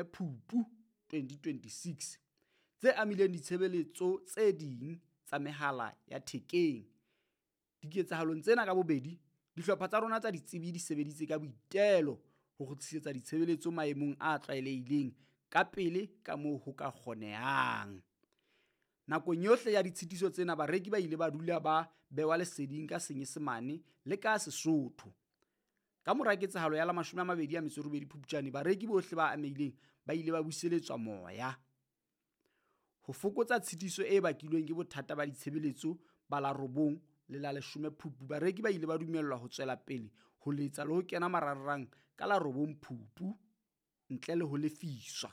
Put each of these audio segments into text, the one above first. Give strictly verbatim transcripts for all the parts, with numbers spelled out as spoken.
Phupu twenty twenty-six tse amileng ditshebeletso tse ding tsa mehala ya thekeng. Diketsahalong tsena ka bobedi, dihlopha tsa rona tsa ditsebi di sebeditse ka boitelo ho kgutlisetsa ditshebeletso maemong a tlwaelehileng kapele kamoo ho ka kgonehang. Nakong yohle ya ditshitiso tsena, bareki ba ile ba dula ba behwa leseding ka Senyesemane le ka Sesotho. Kamora ketsahalo ya la mashome a mabedi a metso e robedi Phupjane, bareki bohle ba amehileng ba ile ba buseletswa moya. Ho fokotsa tshitiso e bakilweng ke bothata ba ditshebeletso ba la robong le la leshome Phupu, bareki ba ile ba dumellwa ho tswela pele ho letsa le ho kena marangrang ka la robong Phupu ntle le ho lefiswa.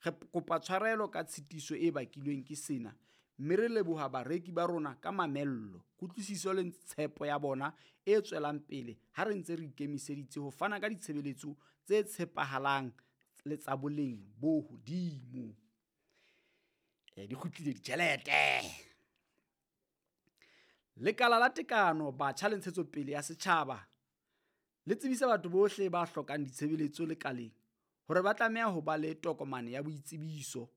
Re kopa tshwarelo ka tshitiso e bakilweng ke sena, mme re leboha bareki ba rona ka mamello, kutlwisiso le tshepo ya bona e tswelang pele ha re ntse re ikemiseditse ho fana ka ditshebeletso tse tshepahalang le tsa boleng bo hodimo. E, di kgutlile ditjhelete. Lekala la Tekano, Batjha le Ntshetsopele ya Setjhaba le tsebisa batho bohle ba hlokang ditshebeletso lekaleng hore ba tlameha ho ba le tokomane ya boitsebiso,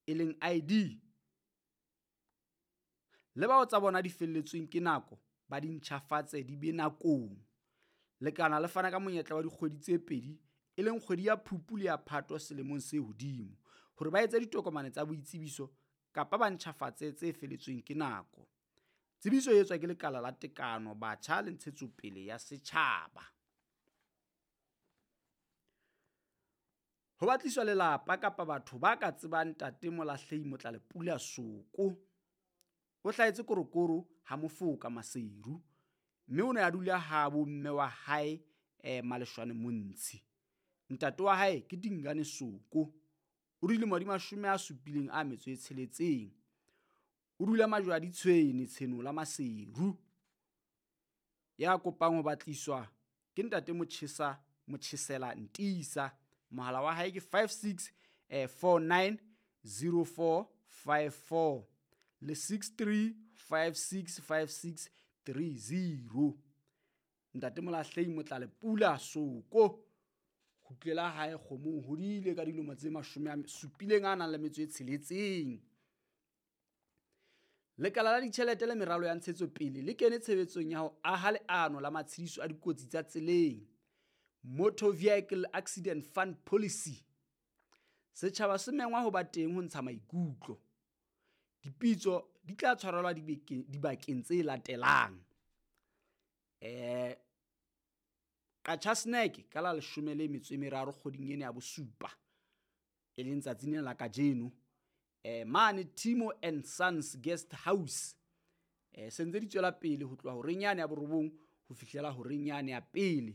e leng I D, le bao tsa bona di felletsweng ke nako ba di ntjhafatse di be nakong. Lekala le fana ka monyetla wa dikgwedi tse pedi, e leng kgwedi ya Phupu le ya Phato selemong se hodimo, hore ba etse ditokomane tsa boitsebiso kapa ba ntjhafatse tse feletsweng ke nako. Tsebiso e etswa ke Lekala la Tekano, Batjha le Ntshetsopele ya Setjhaba. Ho batliswa lelapa kapa batho ba ka tsebang ntate Molahlehi Motlalepula Soko. O hlahetse Korokoro ha Mofoka Maseru, mme o ne a dula ha bomme wa hae, eh, Maleshwane Montshi. Ntate wa hae ke Dingane Soko. O dilemo di mashome a supileng a metso e tsheletseng. O dula Majwadi Tshwene Tshenola Maseru. Ya kopang ho batliswa ke ntate Motjhesa Motjhesela Ntisa. Mohala wa hae ke five six, eh, four nine zero four five four le six three five six five six three zero. Ntate Molahlehi Motlalepula Soko. Kgutlela hae kgomong, hodile ka dilemo tse mashome a supileng a nang le metso e tsheletseng. Lekala la ditjhelete le meralo ya ntshetsopele le kene tshebetsong ya ho aha leano la matshediso a dikotsi tsa tseleng, Motor Vehicle Accident Fund Policy. Setjhaba se mengwa ho ba teng ho ntsha maikutlo. Dipitso di tla tshwarelwa dibeke-, dibakeng tse latelang. Eh, Qacha Snack ka la leshome le metso e meraro kgweding ena ya bosupa, e leng tsatsing lena la kajeno. Eh, mane Timo and Sons Guest House. Eh, se ntse di tswela pele ho tloha horeng yane ya borobong ho fihlela horeng yane ya pele.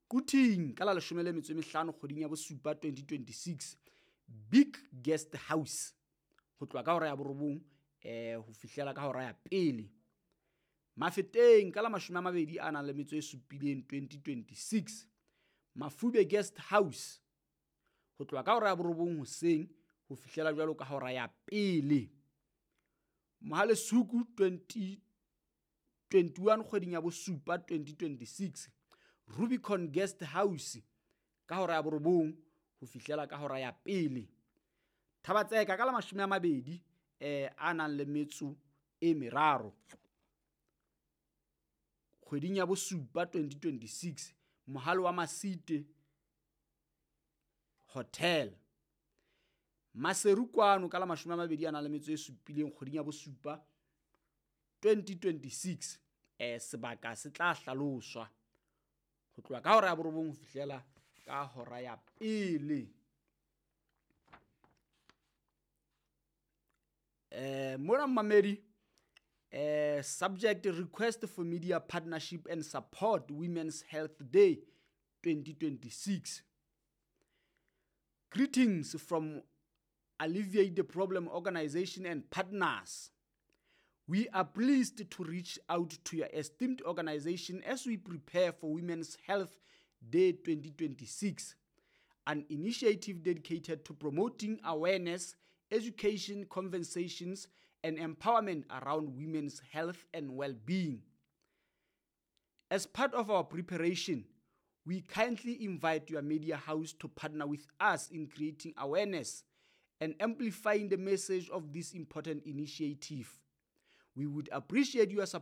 Quthing ka la leshome le metso e mehlano kgweding ya bosupa twenty twenty-six, Big Guest House ho tloha ka hora ya borobong, eh, ho fihlela ka hora ya pele. Mafeteng ka la mashome a mabedi a nang le metso e supileng twenty twenty-six, Mafube Guest House ho tloha ka hora ya borobong hoseng ho fihlela jwalo ka hora ya pele. Mohalesuku twenty twenty-one kgweding ya bosupa twenty twenty-six, Rubicon Guest House ka hora ya borobong ho fihlela ka hora ya pele. Thabatseka ka la mashome a mabedi, eh, a nang le metso e meraro kgweding ya bosupa twenty twenty-six, Mohale wa Masite Hotel. Maseru kwano ka la mashome a mabedi a nang le metso e supileng kgweding ya bosupa twenty twenty-six, eh, sebaka se tla hlaloswa ho tloha ka hora ya borobong ho fihlela ka hora ya pele. Eh, mona mmamedi, eh, subject request for media partnership and support Women's Health Day twenty twenty-six. Greetings from Alleviate the Problem Organization and partners. We are pleased to reach out to your esteemed organization as we prepare for Women's Health Day twenty twenty-six, an initiative dedicated to promoting awareness, education, conversations, and empowerment around women's health and well-being. As part of our preparation, We kindly invite your media house to partner with us in creating awareness and amplifying the message of this important initiative. We would appreciate your support